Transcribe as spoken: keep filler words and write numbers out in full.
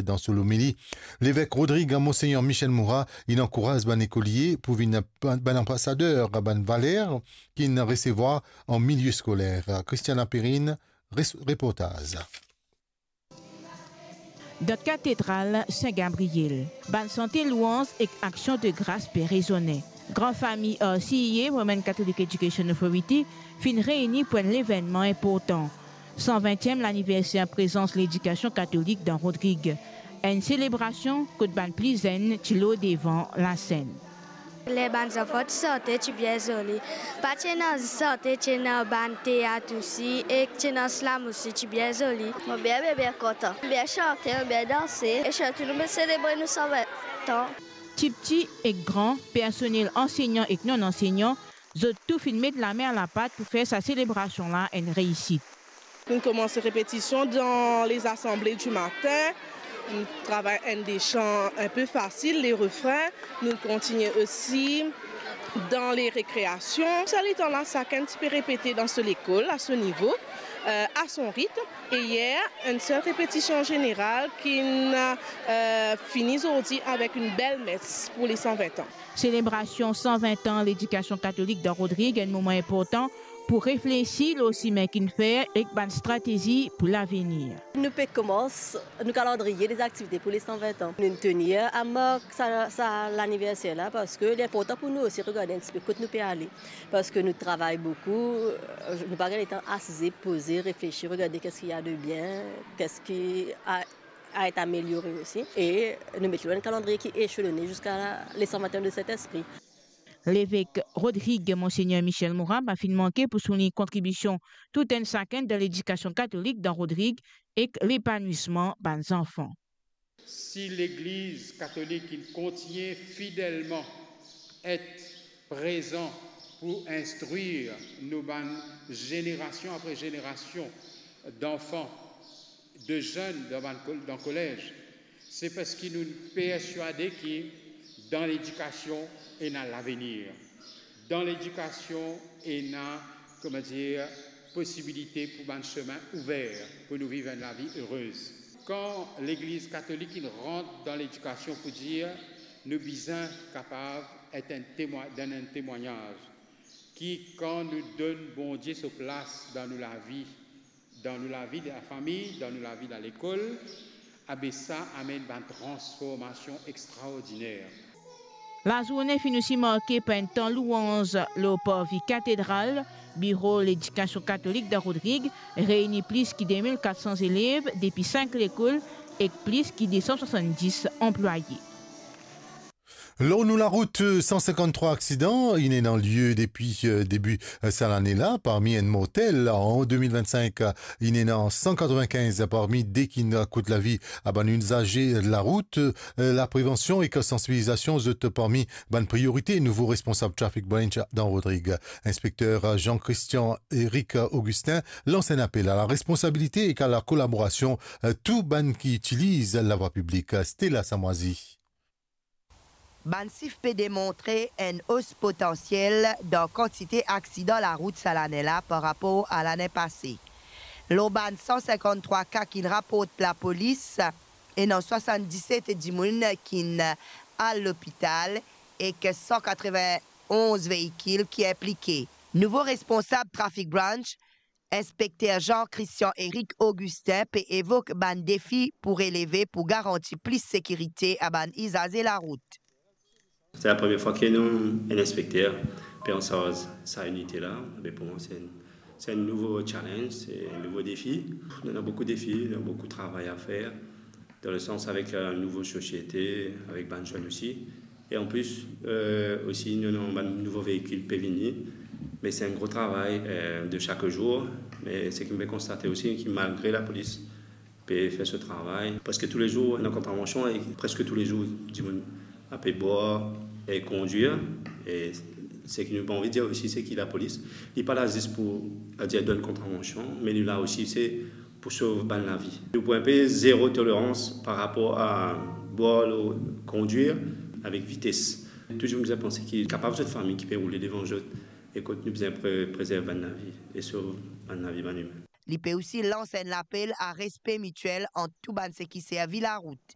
Dan so lomili, Levek Rodrig, Monsegner Michel Moura, inn ankouraz bann lekolie pou vinn bann, bann anbasader bann valer ki inn resevwar an milie skoler. Christiana Perrine, res-, reportaz. Dan katedral Sin Gabriel, bann sante lwanz ek aksion de gras pe rezone. Gran fami R C E A, Roman Catholic Education Authority, finn reyni pou enn levennman inportan, san vintiem laniverser prezans ledikasion katolik dan Rodrig. Enn selebrasion kot bann pli zenn ti lor devan lasenn. Ler bann zanfan ti sante, ti bien zoli. Pa ti ena zis sante, ti ena bann teat osi, ek ti ena slam osi, ti bien zoli. Mo bien, bien, bien kontan. Bien sante, bien danse, e sirtou nou pe selebre nou san vin an. Tipti ek gran, personnel ansegnan ek non-ansegnan, zot tou finn met lame a lapat pou fer sa selebrasion la enn reisit. Nou koumans repetision dan les assemblées du matin. Nou travay enn de chan inpe fasil, les refrains. Nou kontigne osi dan les récréations. Sa letan la, sakenn ti pe repete dan so lekol, a so nivo, euh, a son ritm. E yer, enn sel repetision zeneral ki'nn, euh, fini zordi avek enn bel mes pou les san vin an. Selebrasion san vin an ledikasion katolik dan Rodrig enn moman inportan pou reflesi lor simin ki'nn fer ek bann stratezi pou lavenir. Nou pe koumans nou kalandriye dezaktivite pou les san vin an. Nou'nn tenir a mark sa, sa laniverser la, parski li inportan pou nou osi regarde enn tipe kot nou pe ale. Parski nou travay boukou, nou pa gagn letan asize, poze, reflesi, regarde qu'est-ce qu'il y a de bien, qu'est-ce qui a, a été amélioré aussi. E nou met li lor enn kalandriye ki eselone ziska les san vin an de Sint-Espri. Levek Rodrig, Monsegner Michel Moura, pa finn manke pou soulign kontribision tou enn sakenn dan ledikasion katolik dan Rodrig ek lepanwisman bann zanfan. Si Legliz Katolik inn kontigne fidelman et prezan pou instrir nou bann zenerasion apre zenerasion danfan, de zenn dan bann kol-, dan kolez, se parski nou perswade ki dan ledikasion ena lavenir. Dan ledikasion ena, kouma dir, posibilite pou bann semin ouver pou nou viv enn lavi erez. Kan Legliz Katolik inn rant dan ledikasion pou dir nou bizin kapav et enn temwa-, donn enn temwagnaz ki kan nou donn Bondie so plas dan nou lavi, dan nou lavi dan lafami, dan nou lavi dan lekol, abe sa amenn bann transformasion extraordiner. Lazourne finn osi marke par enn tan louanz lor parvi katedral. Biro Ledikasion Katolik dan Rodrig reyni plis ki de mil kat san zelev depi sink lekol ek plis ki de san swasanndis anplwaye. Lor nou larout, san sinkanntrwa aksidan inn ena lie depi, eh, debi, eh, sa lane la, parmi enn mortel. An de mil vennsink, eh, inn ena san katrevinkinz parmi de ki'nn kout lavi a bann izaze larout. Eh, laprevansion ek sansibilizasion zot parmi bann priorite nouvo responsab Traffic Branch dan Rodrig. Inspekter Jean-Christian Eric Augustin lans enn apel a laresponsabilite ek a lakolaborasion, eh, tou bann ki itiliz lavwa piblik. Stella Samwazi. Bann sif pe demontre enn os potansiel dan kantite aksidan larout sa lane la par rapor a lane pase. Lor bann san sinkanntrwa ka ki'nn raport lapolis, ena swasanndiset dimoun ki'nn al lopital ek san katrevinonz veikil ki inplike. Nouvo responsab Traffic Branch, Inspekter Jean-Christian Eric Augustin pe evok bann defi pou releve pou garanti plis sekirite a bann izaze larout. C'est la première fois que nou, enn inspekter pe ansarz sa inite la. Me pou mwa, se enn, se enn nouvo challenge, se enn nouvo defi. Nou ena boukou defi, nou ena boukou travay a fer. Dan le sans avek, euh, nouvo sosiete, avek bann zenn osi. E an plis, euh, osi, nou, nou, bann nouvo veikil pe vini. Me se enn gro travay, euh, de sak zour. Me seki mo pe konstate osi, ki malgre lapolis pe fer so travay, preske toulezour ena kontravansion e preske toulezour dimoun ape bwar e kondwir. E seki nou pa anvi dir osi, se ki lapolis, li pa la zis pou, adir, donn kontravansion, me li la osi, se pou sov bann lavi. Nou pou enpe zero tolerans par rapor a bwar lor kondwir avek vites. Touzour bizin panse ki kapav zot fami ki pe roule devan zot, e kot nou bizin pre-, prezerv bann lavi e sov bann lavi bann imin. Li pe osi lans enn lapel a respe mitiel ant tou bann seki servi larout.